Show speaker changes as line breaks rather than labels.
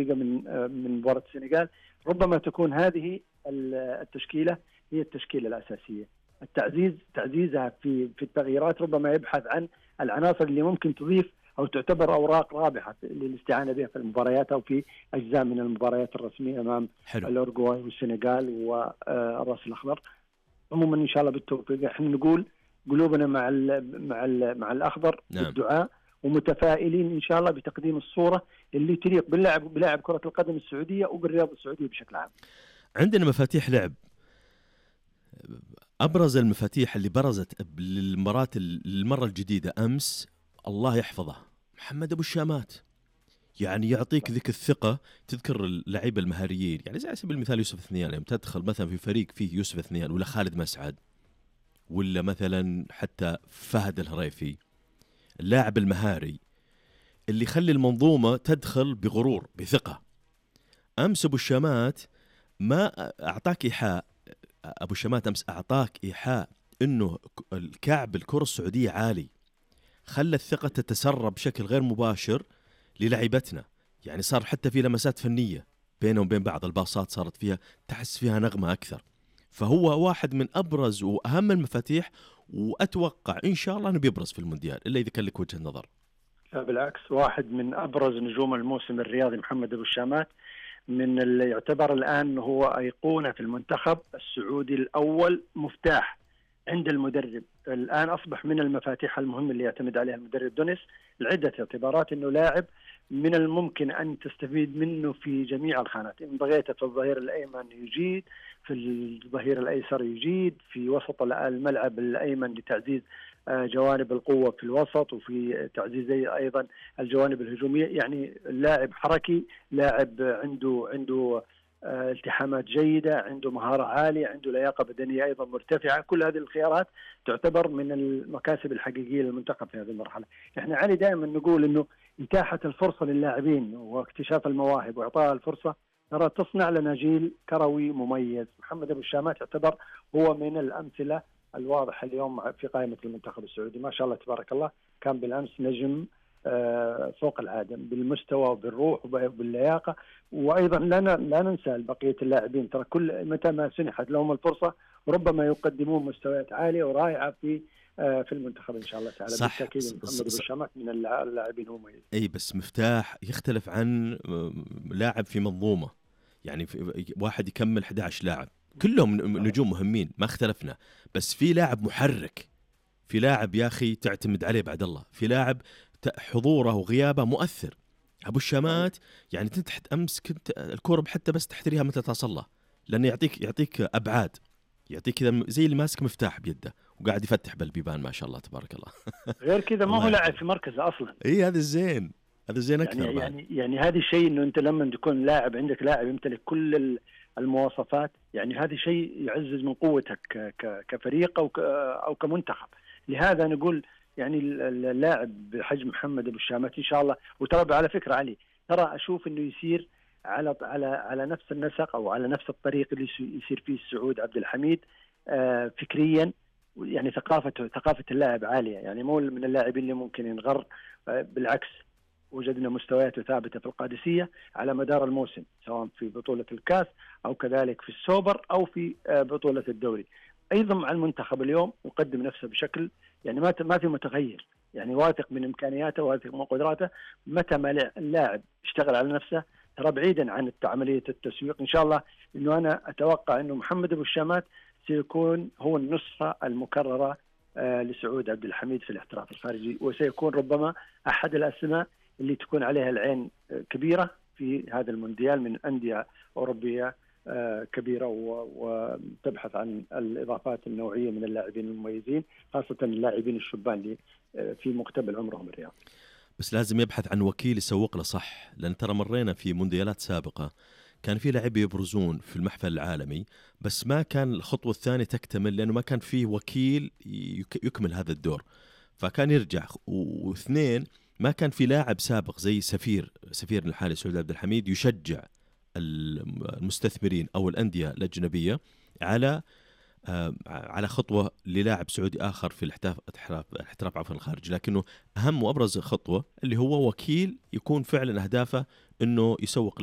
دقيقة من مباراة السنغال، ربما تكون هذه التشكيلة هي التشكيلة الأساسية. تعزيزها في التغييرات، ربما يبحث عن العناصر اللي ممكن تضيف أو تعتبر أوراق رابحة للاستعانة بها في المباريات أو في أجزاء من المباريات الرسمية أمام الأورجواي والسنغال والرأس الأخضر. عموما إن شاء الله بالتوفيق. احنا نقول قلوبنا مع الأخضر بالدعاء، ومتفائلين إن شاء الله بتقديم الصورة اللي تليق بلاعب كرة القدم السعودية وبالرياضة السعودية بشكل عام.
عندنا مفاتيح لعب. أبرز المفاتيح اللي برزت للمرة الجديدة أمس الله يحفظه محمد أبو الشامات. يعني يعطيك ذيك الثقة. تذكر اللعيبة المهاريين، يعني زي على سبيل المثال يوسف الثنيان، لما تدخل مثلا في فريق فيه يوسف الثنيان ولا خالد مسعد ولا مثلا حتى فهد الهريفي، اللاعب المهاري اللي يخلي المنظومة تدخل بغرور بثقة. أمس أبو الشامات ما أعطاك إيحاء، أبو الشامات أمس أعطاك إيحاء إنه الكعب الكرة السعودية عالي، خلى الثقة تتسرب بشكل غير مباشر للعيبتنا. يعني صار حتى في لمسات فنية بينهم وبين بعض، الباصات صارت فيها تحس فيها نغمة أكثر. فهو واحد من أبرز وأهم المفاتيح، وأتوقع إن شاء الله أنه بيبرز في المونديال إلا إذا كان لك وجه النظر.
لا بالعكس، واحد من أبرز نجوم الموسم الرياضي محمد أبو الشامات، من اللي يعتبر الآن هو أيقونة في المنتخب السعودي الأول، مفتاح عند المدرب. الآن أصبح من المفاتيح المهمة اللي يعتمد عليها المدرب دونيس لعدة اعتبارات، أنه لاعب من الممكن أن تستفيد منه في جميع الخانات. إن بغيت في الظهير الأيمن يجيد، في الظهير الأيسر يجيد، في وسط الملعب الأيمن لتعزيز جوانب القوة في الوسط، وفي تعزيز أيضا الجوانب الهجومية. يعني لاعب حركي، لاعب عنده التحامات جيدة، عنده مهارة عالية، عنده لياقة بدنية أيضا مرتفعة. كل هذه الخيارات تعتبر من المكاسب الحقيقية للمنتخب في هذه المرحلة. احنا علي دائما نقول انه إتاحة الفرصة للاعبين واكتشاف المواهب وإعطاء الفرصة ترى تصنع لنا جيل كروي مميز. محمد أبو الشامات يعتبر هو من الأمثلة الواضحة اليوم في قائمة المنتخب السعودي. ما شاء الله تبارك الله، كان بالأمس نجم فوق العادة بالمستوى وبالروح وباللياقة. وأيضا لا ننسى بقية اللاعبين، ترى كل متى ما سنحت لهم الفرصة ربما يقدمون مستويات عالية ورائعة في المنتخب إن شاء الله تعالى. بالتأكيد محمد أبو الشامات من اللاعبين مميز.
أي بس مفتاح يختلف عن لاعب في منظومة. يعني واحد يكمل 11 لاعب كلهم نجوم مهمين، ما اختلفنا، بس في لاعب محرك، في لاعب يا أخي تعتمد عليه بعد الله، في لاعب حضوره وغيابه مؤثر. أبو الشامات يعني تحت أمس كنت الكرة حتى بس تحتريها متى تصلها، لأنه يعطيك أبعاد، يعطيك كذا زي اللي ماسك مفتاح بيده وقاعد يفتح بالبيبان ما شاء الله تبارك الله.
غير كذا ما هو لاعب في مركزه أصلا.
إيه هذا الزين، هذا الزين أكثر.
يعني هذا الشيء إنه أنت لما تكون لاعب عندك لاعب يمتلك كل المواصفات، يعني هذا شيء يعزز من قوتك كفريق أو كمنتخب. لهذا نقول يعني اللاعب بحجم محمد أبو الشامات إن شاء الله، وترى على فكرة علي، ترى أشوف إنه يسير على نفس النسق أو على نفس الطريق اللي يسير فيه السعود عبد الحميد فكريا. يعني ثقافة اللاعب عالية، يعني مو من اللاعبين اللي ممكن ينغر. بالعكس، وجدنا مستوياته ثابتة في القادسية على مدار الموسم، سواء في بطولة الكاس أو كذلك في السوبر أو في بطولة الدوري. أيضا مع المنتخب اليوم يقدم نفسه بشكل يعني ما في متغير، يعني واثق من إمكانياته، واثق من قدراته. متى ما اللاعب اشتغل على نفسه، ترى بعيدا عن عملية التسويق، إن شاء الله إنه أنا أتوقع إنه محمد أبو الشامات سيكون هو النسخة المكررة لسعود عبد الحميد في الاحتراف الخارجي، وسيكون ربما أحد الأسماء اللي تكون عليها العين كبيرة في هذا المونديال من أندية أوروبية كبيرة، وتبحث عن الإضافات النوعية من اللاعبين المميزين، خاصة اللاعبين الشبان اللي في مقتبل عمرهم الرياضي.
بس لازم يبحث عن وكيل يسوق له صح، لأن ترى مرينا في مونديالات سابقة كان في لاعبين يبرزون في المحفل العالمي، بس ما كان الخطوة الثانية تكتمل لأنه ما كان فيه وكيل يكمل هذا الدور، فكان يرجع. واثنين، ما كان في لاعب سابق زي سفير الحالي سعود عبد الحميد يشجع المستثمرين أو الأندية الأجنبية على خطوة للاعب سعودي آخر في الاحتراف عفوا الخارج. لكنه أهم وأبرز خطوة اللي هو وكيل يكون فعلا أهدافه أنه يسوق